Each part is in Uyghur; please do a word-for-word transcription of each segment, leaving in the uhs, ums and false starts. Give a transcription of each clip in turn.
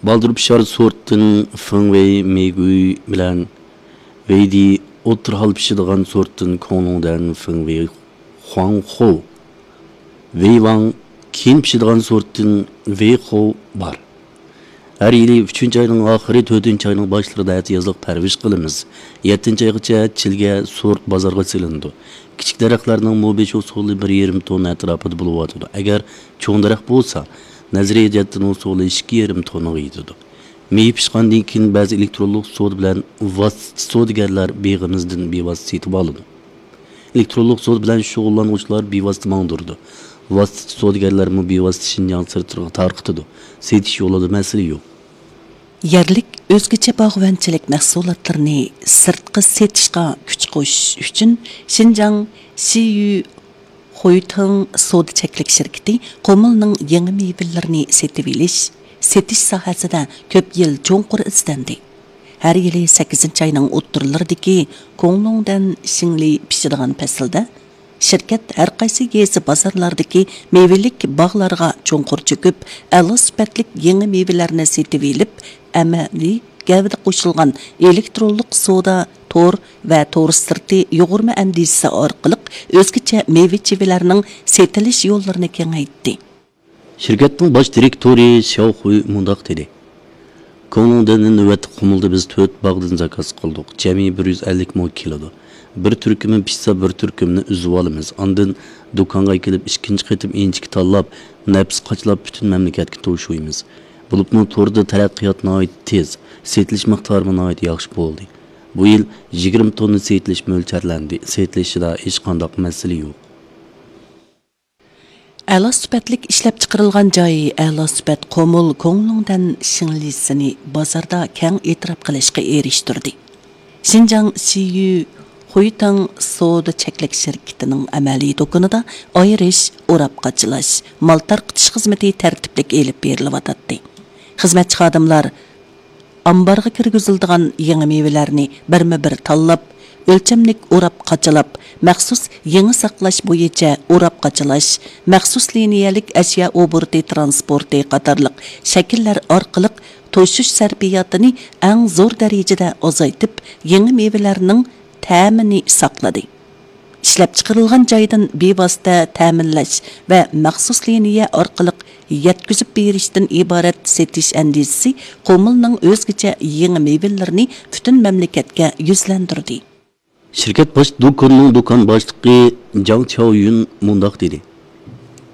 بالدۇر پىشار سورتتىن فېڭۋېي مېگۈي بىلەن ۋېيدى، ئوتتۇرا ھال پىشىدىغان سورتتىن كوڭلۇڭدەن فېڭۋېي خۇاڭخۇ، ۋېيۋاڭ، كېيىن پىشىدىغان سورتتىن ۋېيخۇ بار. ھەر يىلى ئۈچىنچى ئاينىڭ ئاخىرى، تۆتىنچى ئاينىڭ باشلىرىدا ئەتىيازلىق پەرۋىش قىلىمىز. يەتتىنچى ئايغىچە چىلگە سورت بازارغا سېلىنىدۇ. كىچىك دەرەخلەرنىڭ مۇبىش ھوسۇلى بىر يېرىم توننا ئەتراپىدا بولۇۋاتىدۇ. ئەگەر چوڭ دەرەخ بولسا، نەزەرىيە جەھەتتىن ھوسۇلى ئىككى يېرىم توننىغا يېتىدۇ. مېۋە پىشقاندىن كېيىن بەزى ئېلېكترونلۇق سودا بىلەن ۋاسىتىچى سودىگەرلەر بېغىمىزدىن بىۋاسىتە سېتىۋالىدۇ. ئېلېكترونلۇق سودا بىلەن شۇغۇللانغۇچىلار بىۋاسىتە ماڭدۇرىدۇ. ۋاسىتىچى سودىگەرلەرمۇ بىۋاسىتە شىنجاڭ سىرتىغا تارقىتىدۇ. سېتىش يولىدا مەسىلە يوق. يەرلىك ئۆزگىچە باغۋەنچىلىك مەھسۇلاتلىرىنى سىرتقا سېتىشقا كۈچ قوشۇش ئۈچۈن، شىنجاڭ شىيۈ خۇيتىڭ سودا چەكلىك شىركىتى قۇمۇلنىڭ يېڭى مېۋىلىرىنى سېتىۋېلىش، سېتىش ساھەسىدە كۆپ يىل چوڭقۇر ئىزدەندى. ھەر يىلى سەككىزىنچى ئاينىڭ ئوتتۇرىلىرىدىكى كوڭلۇڭدەن شىڭلى پىشىدىغان پەسىلدە، شىركەت ھەر قايسى يېزا بازارلاردىكى مېۋىلىك باغلارغا چوڭقۇر چۆكۈپ، ئەلا سۈپەتلىك يېڭى مېۋىلەرنى سېتىۋېلىپ، ئەمەلىي گەۋدە قوشۇلغان ئېلېكترونلۇق سودا تور ۋە تور سىرتى يۇغۇرما ئەندىزىسى ئارقىلىق ئۆزگىچە مېۋە-چېۋىلەرنىڭ سېتىلىش يوللىرىنى كېڭەيتتى. شىركەتنىڭ باش دىرېكتورى شياۋ خۇي مۇنداق دېدى: كوڭلۇڭدىننى نۆۋەتتە قۇمۇلدا بىز تۆت باغدىن زاكاز قىلدۇق، جەمئىي بىر يۈز ئەللىك مو كېلىدۇ. بىر تۈركۈمى پىشسا، بىر تۈركۈمنى ئۈزۈۋالىمىز، ئاندىن دۇكانغا ئەكېلىپ ئىككىنچى قېتىم ئىنچىكە تاللاپ، نەپىس قاچىلاپ پۈتۈن مەملىكەتكە توشۇيمىز. بولۇپمۇ توردا تەرەققىيات ناھايىتى تېز، سېتىلىش مىقدارىمۇ ناھايىتى ياخشى بولدى. بۇ يىل يىگىرمە توننا سېتىلىش مۆلچەرلەندى، سېتىلىشىدا ھېچقانداق مەسىلە يوق. ئەلا سۈپەتلىك ئىشلەپچىقىرىلغان جاي، ئەلا سۈپەت قۇمۇل كوڭلۇڭدەن شىڭلىسىنى بازاردا كەڭ ئېتىراپ قىلىشقا ئېرىشتۈردى. شىنجاڭ شىيۈ خۇيتىڭ سودا چەكلىك شىركىتىنىڭ ئەمەلىي دۇكىنىدا ئايرىش، ئوراپ قاچىلاش، مال تارقىتىش خىزمىتى تەرتىپلىك ئېلىپ بېرىلىۋاتاتتى. خىزمەتچى خادىملار ئامبارغا كىرگۈزۈلىدىغان يېڭى مېۋىلەرنى بىرمۇ بىر تاللاپ، ئۆلچەملىك ئوراپ قاچىلاپ، مەخسۇس يېڭى ساقلاش بويىچە ئوراپ قاچىلاش، مەخسۇس لىنىيەلىك ئەشيا ئوبوروتى تىرانسپورتى قاتارلىق شەكىللەر ئارقىلىق توشۇش سەرپىياتىنى ئەڭ زور دەرىجىدە ئازايتىپ، يېڭى مېۋىلەرنىڭ تەمىنى ساقلىدى. ئىشلەپچىقىرىلغان جايدىن بىۋاسىتە تەمىنلەش ۋە مەخسۇس لىنىيە ئارقىلىق يەتكۈزۈپ بېرىشتىن ئىبارەت سېتىش ئەندىزىسى قۇمۇلنىڭ ئۆزگىچە يېڭى مېۋىلىرىنى پۈتۈن مەملىكەتكە يۈزلەندۈردى. شىركەت باش دۇكىنىنىڭ دۇكان باشلىقى جاڭ چياۋيۈن مۇنداق دېدى: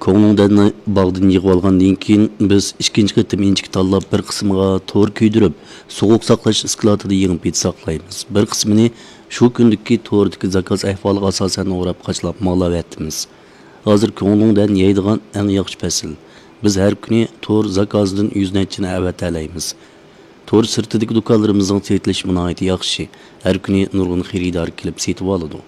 كوڭلۇڭدەننى باغدىن يىغىۋالغاندىن كېيىن، بىز ئىككىنچى قېتىم ئىنچىكە تاللاپ، بىر قىسمىغا تور كۆيدۈرۈپ، سوغۇق ساقلاش ئىسكىلاتىدا يېڭى پىت ساقلايمىز. بىر قىسمىنى شۇ كۈندىكى توردىكى زاكاز ئەھۋالىغا ئاساسەن ئوراپ قاچىلاپ مال ئەۋەتىمىز. ھازىر كوڭلۇڭدەن يەيدىغان ئەڭ ياخشى پەسىل. بىز ھەر كۈنى تور زاكازىدىن يۈز نەچچىنى ئەۋەتەلەيمىز. تور سىرتىدىكى دۇكانلىرىمىزنىڭ سېتىلىشىمۇ ناھايىتى ياخشى. ھەر كۈنى نۇرغۇن خېرىدار كېلىپ سېتىۋالىدۇ.